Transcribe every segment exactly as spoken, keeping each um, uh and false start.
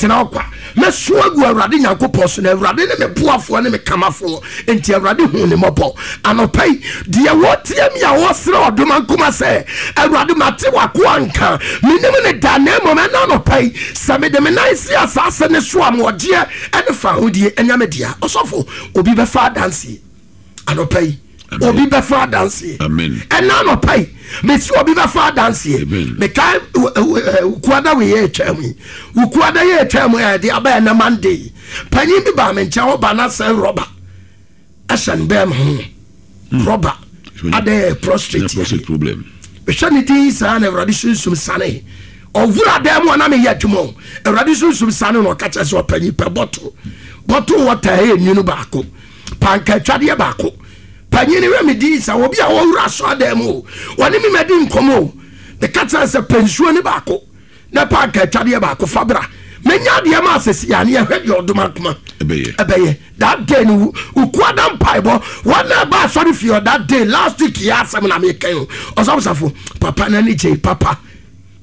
Mentena hɔ kwa. Mɛso agu Awurade Nyankopɔn so, na Awurade ne me boafoɔ ne me kamafoɔ. Enti Awurade hu ne mmɔbɔ. Anɔpa yi, deɛ wɔtie mi a wɔsrɛ ɔdoma nkoma sɛ, Awurade, mate w'akoa nka, menim ne da, na mmom ɛna anɔpa yi, sɛ mede me nan si asase ne so a, moɔgyeɛ ɛne fa ahodie ɛnyɛ me dea. Ɔsɔfo, obi bɛfa adanseɛ anɔpa yi. Obi bɛfa adanseɛ ɛna anɔpa yi. Mesi obi bɛfa adanseɛ. Mekae wukuada wei yɛ atwa mu yi, wukuada yɛ atwa mu yɛ de aba ɛnɛ Monday, panyin bi baa me nkyɛn. Ɔba na sɛ rɔba ɛhyɛ ne bɛn ho hmm. Rɔba adɛ prostate. Mehwɛ ne din saa na Awurade sunsum sane ɔwura dan mu a na meyɛ adwuma o. Awurade sunsum sane na ɔka kyerɛ sɛ, ɔpanyin, pɛ bottle bottle water ɛyɛ nwunu baako, panka atwadeɛ baako. Panyin wɛ me din sɛ obi a wɔwura asɔredan mu o, wɔne me madi nkɔmmɔ o. Meka kyerɛ sɛ pɛ nsuo ne baako na panka atwadeɛ baako fa bra. Menya adeɛ ma asɛsi a ne yɛhwɛ deɛ ɔdom akoma ɛbɛyɛ. That day no, wukuada mpaebɔ wɔn na ɛba asɔre fie that day last week yɛ asɛm na meka o. Ɔsɔfosafo, papa n'ani gye papa.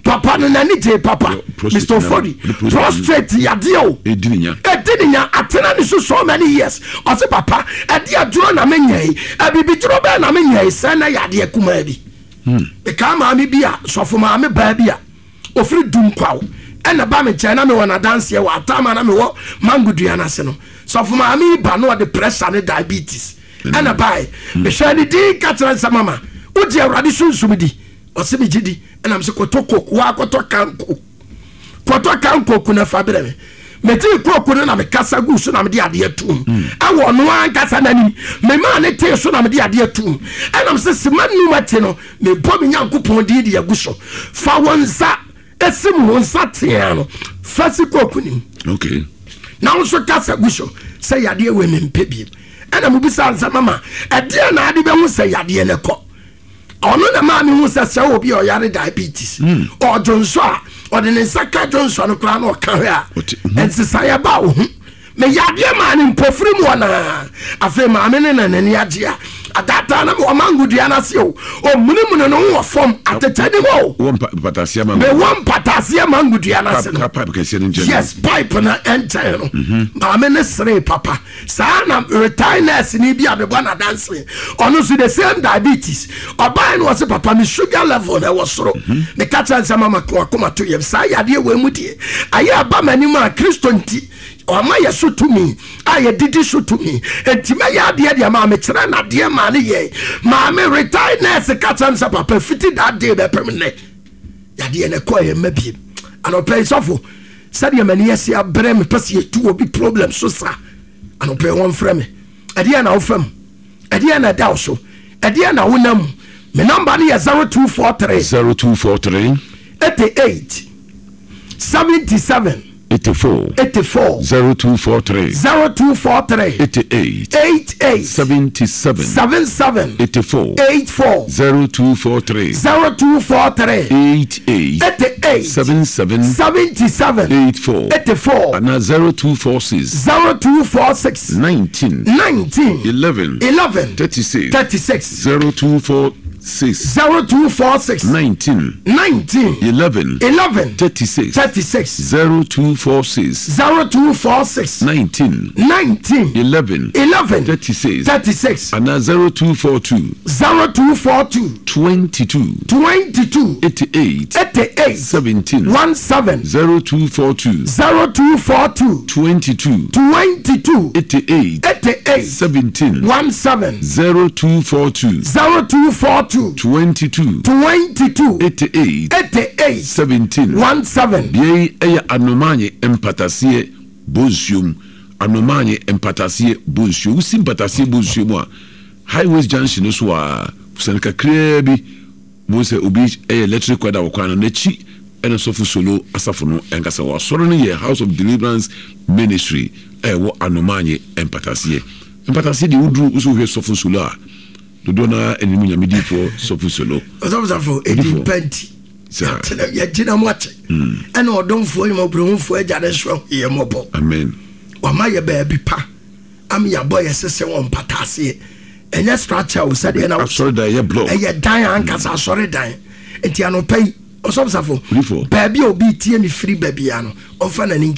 Papa no n'ani gye papa. Mister Ofori, prostate yadeɛ o, edi ne nya, atena ne so so many years. Ɔsi, "Papa, ɛdi aduro na me nya yi, ɛbibi duro bɛɛ na me nya yi sɛ na yadeɛ kumaa bi." Mekaa maame bi a, sɔfo, maame baa bi a ofiri dum kwaw ɛna ba me nkyɛn na mewɔ n'adanseɛ wɔ atama na mewɔ mango dua n'ase no. Sɔfo, maame yi ba na ɔde pressure ne diabetes ɛna bae. Mehwɛ ne din ka kyerɛ nsɛ, "Mama, wogye Awurade sunsum di?" Ɔsɛ, "Megye di." Ɛnam sɛ kɔtɔ Coke, waa kɔtɔ can Coke, kɔtɔ can Coke na fa brɛ me. Megye Coke no na mekasa gu so na mede adeɛ tom ɛwɔ ɔno ankasa n'anim. Memaa ne tee so na mede adeɛ tom. Ɛnam sɛ sima num akyi no, mebɔ me Nyankopɔn din de agu so. Fa wo nsa esi mu, wo nsa tea no, fa si Coke nim okay na wo nso kasa gu so sɛ yadeɛ wei mempɛ biem. Ɛna mobisa nsɛ, "Mama, ɛdeɛ na ade bɛhu sɛ yadeɛ no kɔ?" Ɔno na maa mehu sɛ sɛ obi a ɔyare diabetes, ɔdwo nso a, ɔde ne nsa ka dwo nsɔ no koraa na ɔka hwɛ a, nsesaeɛ ba wo ho. Meyɛ adeɛ maa ne mpɔfiri mu ɔnaa. Afei maame ne na n'ani agye a adaataa na mewɔ mango dua no ase o, ɔmunimuni no ho wɔ fam atetɛ nim o. Mewɔ mpataseɛ mango dua no ase no. Yes, pipe no nkyɛn no, maame ne seree papa saa. Na retired nurse ni bi a mebɔ n'adanse, ɔno nso the same diabetes. Ɔbaa no, ɔsɛ, "Papa, me sugar level na ɛwɔ soro." Meka kyerɛ nsɛm ama wakoma to yam saa yadeɛ wɔ mu deɛ ayɛ aba m'anim a, Kristo nti ɔma yɛ so tumi a yɛdidi so tumi. Enti mɛyɛ adeɛ deɛ maa mekyerɛ nadeɛ maa ne yɛ. Maame retired nurse ka kyerɛ m sɛ, "Papa, fiti that day bɛpem nnɛ, yadeɛ no ɛkɔɔ yɛ mma biem." Anɔpɛ yi, sɔfo, sɛdeɛ m'ani asi abrɛ, mepɛ sɛ yɛtu obi problem so sa anɔpɛ yi, wɔmfrɛ me. Ɛdeɛ na wofam, ɛdeɛ na ɛda wo so, ɛdeɛ na wonam mu. Me number no yɛ zero two four three zero two four three eighty-eight seventy-seven eighty-four eighty-four. zero two four three zero two four three eighty-eight eighty-eight seventy-seven seventy-seven eighty-four. eighty-four. zero two four three zero two four three eighty-eight eighty-eight seventy-seven seventy-seven eighty-four eighty-four. And zero two four six zero two four six nineteen nineteen eleven eleven thirty-six. thirty-six. zero two four six zero two four six nineteen nineteen eleven eleven thirty-six. thirty-six. zero two four six zero two four six nineteen nineteen eleven eleven thirty-six. thirty-six. And zero two four two zero two four two twenty-two twenty-two eighty-eight eighty-eight seventeen. seventeen. zero two four two zero two four two twenty-two twenty-two eighty-eight eighty-eight seventeen. seventeen. zero two four two zero two four two twenty-two twenty-two eighty-eight eighty-eight seventeen. seventeen. Bea yi yɛ Anomanye Mpataseɛ Bonsuom. Anomanye Mpataseɛ Bonsuo, wosi Mpataseɛ Bonsuo mu a, Highways Junction no so a, sane kakraa bi mo sɛ obi ɛyɛ electric kwada wɔ kwan no n'akyi, ɛna Sɔfo Solo asafo no ɛnkasa wɔ. Asɔre no yɛ House of Deliverance Ministry a ɛwɔ Anomanye Mpataseɛ. Mpataseɛ deɛ, woduru wosɛ wohwɛ Sɔfo Solo a, dodoɔ no ara anim Nyamediifoɔ Sɔfo Solo. Ɔsɔfosafo, ɛdi mpa nti yɛgyina mu akyɛ, ɛna ɔdomfoɔ nyimɔborɔhufoɔ agya ne so yɛ mmɔbɔ. Amen. Wama yɛ baabi pa ama yɛabɔ yɛ sese wɔ mpataaseɛ. Ɛnyɛ structure o, sɛdeɛ na asɔredan yɛ block. Ɛyɛ dan ankasa, asɔredan. Nti anɔpa yi, ɔsɔfosafo, Odifoɔ. baabi a obi tie me firi baabia no, ɔmfa n'ani nkyerɛ.